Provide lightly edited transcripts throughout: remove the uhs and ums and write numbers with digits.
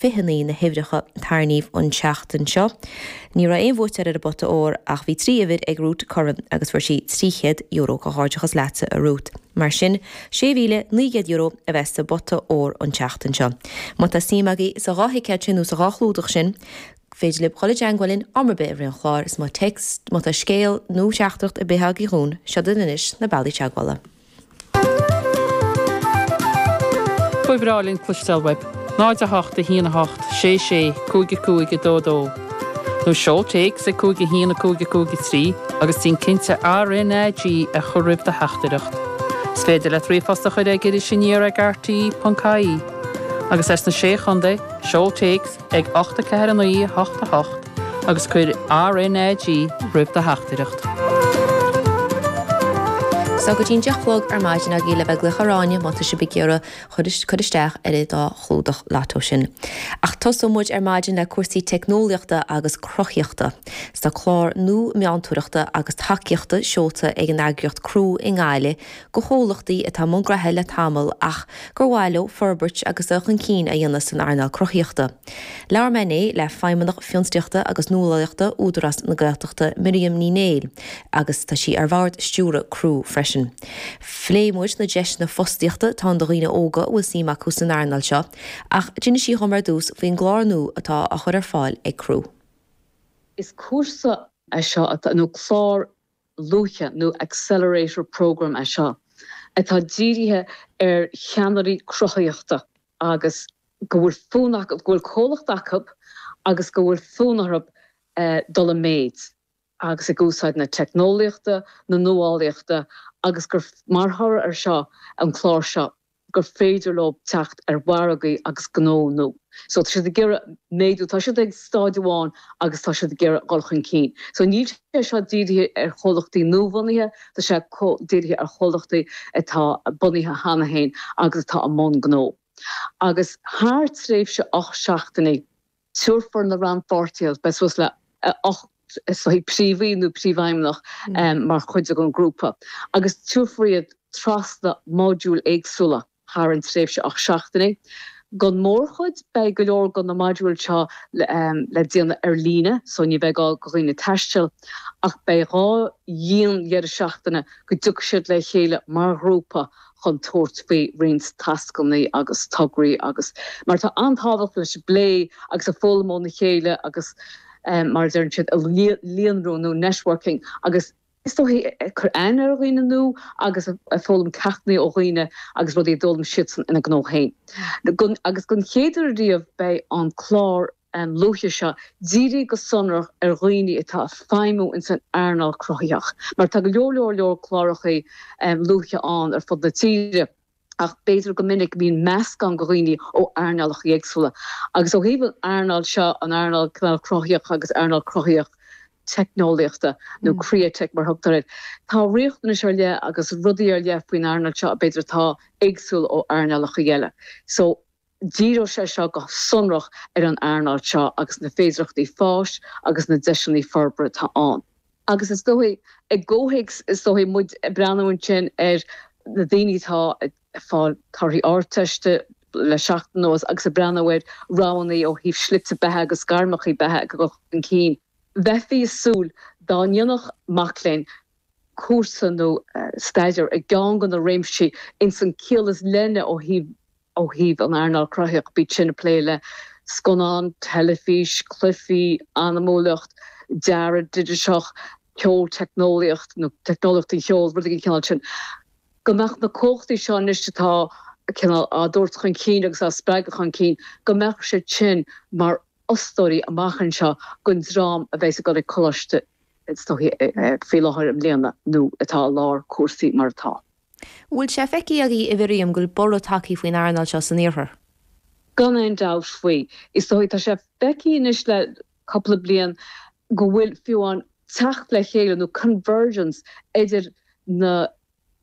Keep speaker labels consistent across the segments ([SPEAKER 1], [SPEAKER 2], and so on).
[SPEAKER 1] 29 na huimhreacha a tarraingíodh an tseachtain seo. Ní raibh aon bhuaiteoir ar an bpota óir ach bhí 3 uimhir ag Ruth Curran agus fuair sí €300. Comhghairdeachas leatsa a Ruth. Mar sin, €6,900 a bheas sa bpota óir an tseachtain seo. Má tá suim agaibh sa dhá thicéad sin nó sa dhá chlúdach sin, féidir libh dhul i dteangmháil linn am ar bith i rith an chláir is má téacs, má tá scéal nó teachtaireacht ar bith agaibh dhúinn, seod iad anois na bealaí teagmhála.
[SPEAKER 2] Ba bhreá linn cloisteáil uaibh. 0 8 1 8 6 6 5 5 2 2 Nó seol téacs ag 5 1 5 5 3 agus déan cinnte RnaG a chur roimh do theachtaireacht. Is féidir leat ríomhphost a chur ag irisaniar ag rte.ie. Agus as na Sé Chontae, seol téacs ag 8 4 9 8 8 agus cuir RnaG roimh do theachtaireacht.
[SPEAKER 1] Tá go dtí an 10 a chlog ar maidin agaibh le bheith ag glaoch ar Áine má tá sibh ag iarraidh cur isteach ar an dá chlúdach Lotto sin. Ach tosóidh muid ar maidin le cúrsaí teicneolaíochta agus cruthaíochta. 'S tá clár nua meantóireachta agus tacaíochta seolta ag an eagraíocht Croú i nGaillimh do chomhlachtaí atá i mbun gnoithe le tamall ach gur mhaith leo forbairt agus dul chun cinn a dhéanamh san earnáil cruthaíochta. Labhair mé inné le Feidhmeannach Fiontraíochta agus Nuálaíochta Údarás na Gaeltachta, Miriam Ní Néill, agus tá sí ar bhord stiúrtha Croú freisin. Phléigh muid na deiseanna fostaíochta atá ann do dhaoine óga a bhfuil suim acu san earnáil seo, ach d'inis sí dhom ar dtús faoin gclár nua atá á chur ar fáil ag Croú.
[SPEAKER 3] Is cúrsa é seo atá, nó clár luaithe nó accelerator programme é seo, atá dírithe ar cheannairí cruthaitheachta agus go bhfuil fonn acu, go bhfuil comhlacht acu agus go bhfuil fonn orthu dul i méid agus ag úsáid na teicneolaíochta, na nuálaíochta agus gur mar thoradh ar seo, an clár seo, gur féidir leo teacht ar mhargaí agus gnó nua. So tá siad ag iarraidh méadú, tá siad ag stáid amháin agus tá siad ag iarraidh dhul chun cinn. So níl sé seo dírithe ar chomhlachtaí nuabhunaithe, tá sé dírithe ar chomhlachtaí atá bunaithe cheana féin agus atá i mbun gnó. Agus thar tréimhse 8 seachtainí, Tabharfar na rannpháirtithe, beidh suas le 8 is dóigh príomhaí nó príomhfheidhmeannach mar chuid den ghrúpa, agus tabharfar iad trasna modúil éagsúla thar an tréimhse 8 seachtainí. Don mhórchuid, beidh go leor de na modúil seo le déanamh ar líne, so ní bheidh gá do dhaoine taisteal, ach beidh dhá dhian-dheireadh seachtaine go dtiocfaidh siad le chéile mar ghrúpa chun tabhairt faoi roinnt tascanna agus tograí agus mar tá an-tábhacht leis an bplé agus ag foghlaim óna chéile agus mar a deireann siad líonrú nó networking agus is dóigh ag cur aithne ar dhaoine nua agus ag foghlaim ceachtanna ó dhaoine agus rudaí a d'fhoghlaim siadsan ina ngnó féin. Agus don chéad uair riamh beidh an clár luaithe seo dírithe go sonrach ar dhaoine atá ag feidhmiú ins an earnáil cruthaitheach, mar tá go leor leor leor clárachaí luaithe ann ar fud na tíre, ach b'fhéidir go minic bíonn meascán de dhaoine ó earnálacha éagsúla. Agus ó thaobh an earnáil seo, an earnáil cineál cruthaitheach agus earnáil cruthaitheach teicneolaíochta, nó createch mar a thugtar air, tá riachtanais ar leith agus rudaí ar leith faoin earnáil seo b'fhéidir atá éagsúil ó earnálacha eile. So. Díreoidh sé seo go sonrach ar an earnáil seo agus na féidearthachtaí fáis agus na deiseanna forbartha atá ann. Agus is dóigh, i gcomhthéacs, is dóigh, muid ag breathnú ansin ar na daoine atá ag fáil torthaí Ardteiste le seachtain anuas agus ag breathnú ar roghanna ó thaobh slite beatha agus gairmeacha beatha ag dul chun cinn, bheifí ag súil dá ndéanfadh mac léinn cúrsa nó staidéar i gceann de na réimsí ins an ciall is leithne ó thaobh ó thaobh an earnáil cruthaitheach, bíodh sin ag plé le scannán, teilifís, cluichí, anamúlacht, dearadh digiteach, ceol, teicneolaíocht nó teicneolaíocht an cheoil, rudaí den chineál sin. Go mbeadh na comhlachtaí seo anois atá cineál á dtabhairt chun cinn agus á spreagadh chun cinn, go mbeadh siad sin mar fhostóirí amach anseo don dream a bheas ag dul ag coláiste is dóichí faoi láthair i mbliana nó atá i lár cúrsaí mar atá.
[SPEAKER 1] Bhfuil sé feicthe agaibh, a Mhiriam, go bhfuil borradh tagtha faoin earnáil seo san iarthar?
[SPEAKER 3] Gan aon dabht faoi. Is dóigh, tá sé feicthe anois le cúpla bliain go bhfuil fiú amháin teacht le chéile nó convergence idir na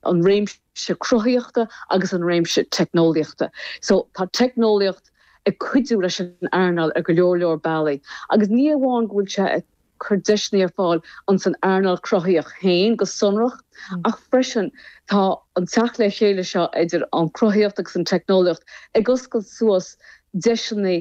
[SPEAKER 3] an réimse cruthaitheachta agus an réimse teicneolaíochta. So tá teicneolaíocht ag cuidiú leis an earnáil ar go leor leor bealaí agus ní amháin go bhfuil sé ag cur deiseanna ar fáil ins an earnáil cruthaitheach féin go sonrach, ach freisin tá an teacht le chéile seo idir an cruthaitheacht agus an teicneolaíocht ag oscailt suas deiseanna.